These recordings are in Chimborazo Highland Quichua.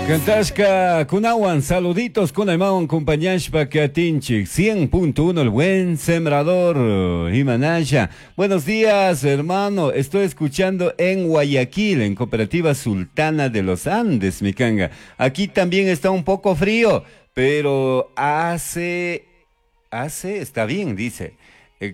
Cantashka kunawan saluditos kunaymawan compañashpa katinchik 100.1 el buen sembrador Imanaya. Buenos días, hermano. Estoy escuchando en Guayaquil, en Cooperativa Sultana de los Andes, mi canga. Aquí también está un poco frío, pero hace hace está bien, dice.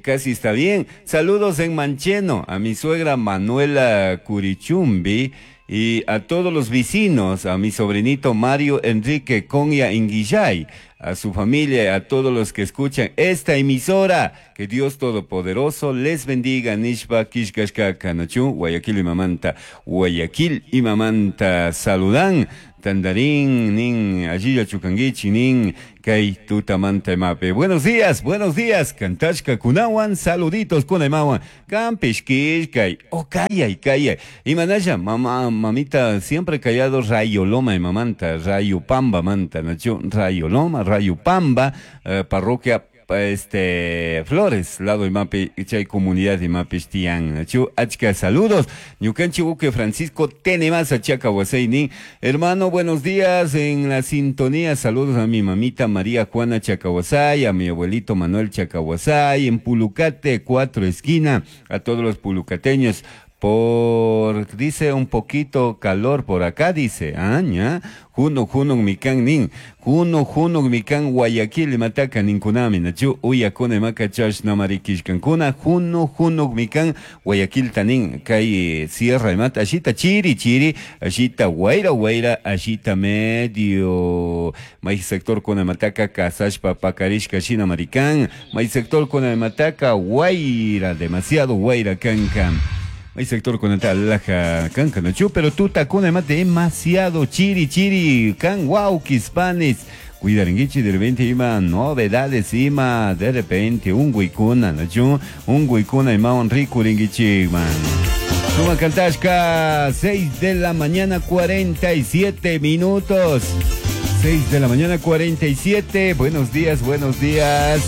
Casi está bien. Saludos en Mancheno a mi suegra Manuela Curichumbi y a todos los vecinos, a mi sobrinito Mario Enrique Conya Inguillay, a su familia, a todos los que escuchan esta emisora. Que Dios Todopoderoso les bendiga. Nishpa Kishkashka Nachu, Guayaquil y Mamanta, Guayaquil y Mamanta saludan. Tandarín, nin, allilla chukanguichi, nin, kay tutamanta mape. Buenos días, buenos días. Kantashka kunawan, saluditos kunaymawan. Kampish kishkay, oh kayay, kayay. Imanaya, mamá, mamita, siempre callado, Rayo Loma y mamanta, Rayo Pamba manta, nachu, Rayo Loma, Rayo Pamba, parroquia Flores, lado imapi, chay comunidad imapi tian. Chu, achka saludos. Ñukanchi uke Francisco Tenemasa Chaca Huaseini. Hermano, buenos días en la sintonía. Saludos a mi mamita María Juana Chacahuasay, a mi abuelito Manuel Chacahuasay, en Pulucate, 4 esquina, a todos los pulucateños. Por, dice un poquito calor por acá, dice, ah, ña, juno, juno, mikan nin, juno, juno, mikan Guayaquil, mataka ninkunami, nachu, uyakuna, maka chash, namarikishkankuna, juno, juno, mikan Guayaquil tanin, kay sierra, mata, ashita, chiri, chiri, ashita, guaira, guaira, ashita, medio, may sector kuna mataka, kasashpa, pakarishka, shina, marikan, may sector kuna mataka, guaira, demasiado guaira, kankan. Hay sector con el laja canca nachu, pero tú tacuna mate demasiado chiri chiri can guau quispanes. Cuidarenguichi de repente ima novedades ima de repente un guicuna nachu, un guicuna ima un rico ringuichi man. Suma Kantashka, 6 de la mañana 47 minutos. 6 de la mañana 47. Buenos días, buenos días.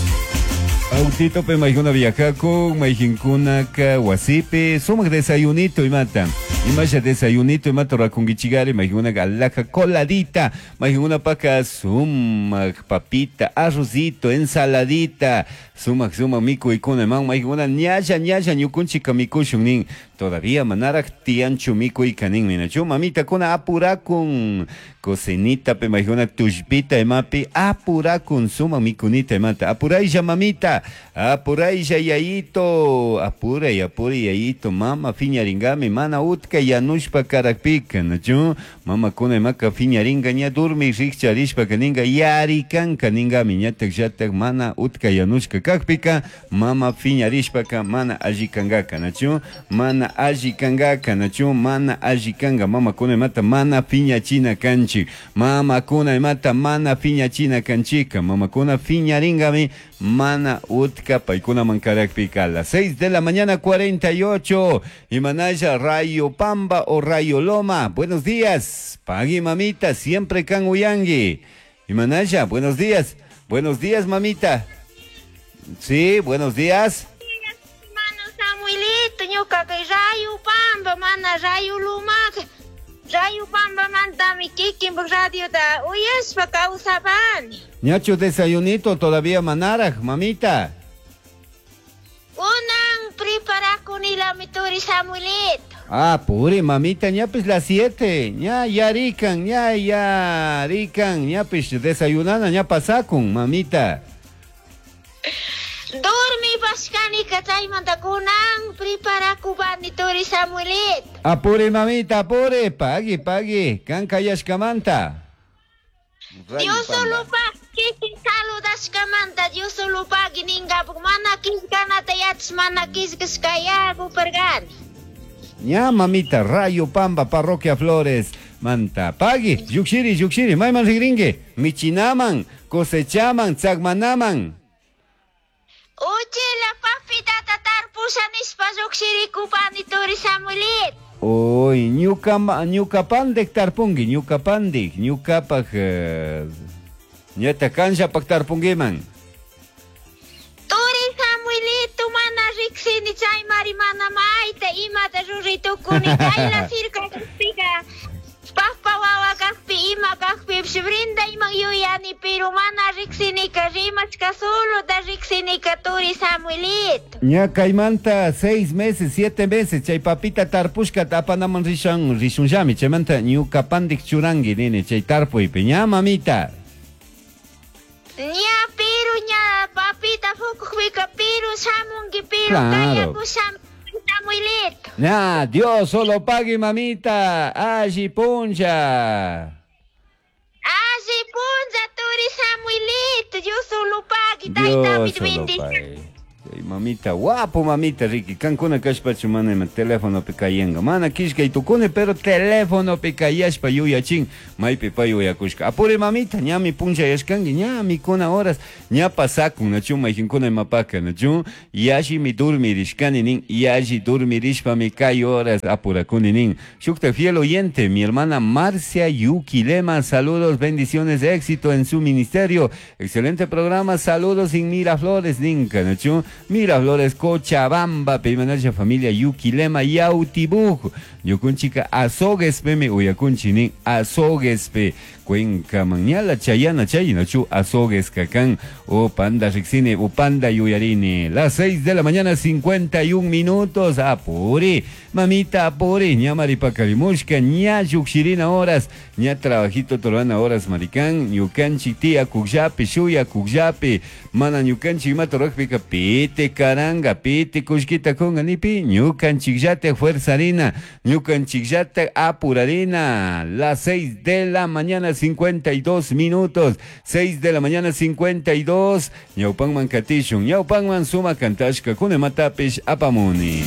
Autito pe maijuna viajaku, maijinkuna ka wasipi, sumak desayunito y mata. Imasha desayunito y mata rakungichigari, maijuna galaja coladita, maijuna paca sumak papita, arrocito, ensaladita, sumak sumak miku ikuna man, maijuna ñasha ñasha ñukunchika mikushun nin. Todavía manarak tianchu miku ikanin minachu, mamita kuna apurakun, cocinita pe maijuna tushpita emapi, apurakun sumak mikunita emata, apuraylla mamita. Apuraylla yayito, apuray, apuray yayito, mama fiñaringami, mana utka yanushpa karakpika, nachu, mama kuna maka fiñaringa, ña durmi rikcharishpa kaninga, yarikanka ningami, ñatak yatak mana utka yanushka kakpika, mama fiñarishpaka, mana allikangaka, nachu, mana allikangaka, nachu, mana allikanga, mama kuna mata, mana fiñachina kanchik, mama kuna mata, mana fiñachina kanchika, mama kuna fiñaringami, mana utka paikuna mankarakpika. A las 6 de la mañana 48. Imanaya Rayo Pamba o Rayo Loma. Buenos días. Pagui mamita, siempre kan uyangi. Imanaya, buenos días. Buenos días, mamita. Sí, buenos días. Mano Samuelito, ñuka kay Rayo Pamba, mana Rayo Loma. Rayo Pamba mantami kikin radio ta uyashpa kawsapani. Ñacho desayunito todavía manaraj, mamita. Unan preparakunila mi turi Samuelito. Ah, puri, mamita, ñapis las 7, ña yarikan, ña yarikan, ñapis desayunana, ña pasakun, mamita. Dormi pashkani chaymanta kunan preparakupani turi Samuelito. Apure, mamita, apure, pagui, pagui, kan kayashkamanta. Dios solo pagui, saludashkamanta, Dios solo pagui ningapuk, mana kishkanata yachas, mana kishkashkayaku pergani. Ña, mamita, Rayo Pamba, Parroquia Flores, manta, pagui, yukshiri, yukshiri, mayman rigringue, michinaman, cosechaman, tzagmanaman. Uchila papita tarpusha nishpa yukshirikupani turi Samuelito. Uy, ñuka ñuka tarpungi, ñuka pandik, ñukapaj, ñata kanllapak tarpungiman. Turi Samuelito mana riksini chaymari mana mayta imata ruritukuni kayla sirka kakpika, papa wawa kakpi ima Ñukapish brindayman yuyani, pero mana riksinika rimashka solo da riksinika turi Samuelito. Ña kaymanta 6 meses, 7 meses, chay papita tarpushka apanaman rishan, rishunllami, chaymanta ñuka pandik churangi nini, chay tarpuypi, ña mamita. Ña pero ña papita fukukpika pero shamunki pero Claro. kayakushami Samuelito. Ña, Dios solo pague mamita, alli puncha. Alli puncha turi Samuelito, Dios solo pague, taytapit Dios solo bendición. pague. Chay mamita, guapo mamita, Ricky, kankuna kashpachu mana ima telefonopi kayanka. Mana kishkay tukuni, pero telefonopi kayashpa yuyachin, maypi pay yuyakushka. Apuri mamita, ñami punchayashkanki, ñami kuna horas, ña pasakun, nachu mayqinkuna imapaka, nachu yallimi durmirishkani nin, yalli durmirishpami kay horas apurakuni nin. Shukta fiel oyente, mi hermana Marcia Yuquilema, saludos, bendiciones, éxito en su ministerio. Excelente programa, saludos en Miraflores, ninka, nachu. Miraflores, Cochabamba, Peimanacha familia Yuquilema, Yautibuj. Ñukunchika azoguespe mi uyakunchi nin, azoguespe. Cuenca mañala chayana chay, nachu azogues kakan, o panda riksini, o panda yuyarini. Las 6 de la mañana, 51 minutos. Apuri, mamita, apuri, ña maripakarimushka, ña yukshirina horas, ña trabajito torana horas maricán, ñukanchi tía kukllapi, shuya kukllapi, mana ñukanchi imata rurakpika, pite karanga, pite kushkita kunga nipi, ñukanchikllata fuerzarina, ñukanchikllata apurarina. Las 6 de la mañana, 52 minutos, 6 de la mañana, 52, ñawpanman katishun, ñawpanman suma kantashka, kunematapish apamuni.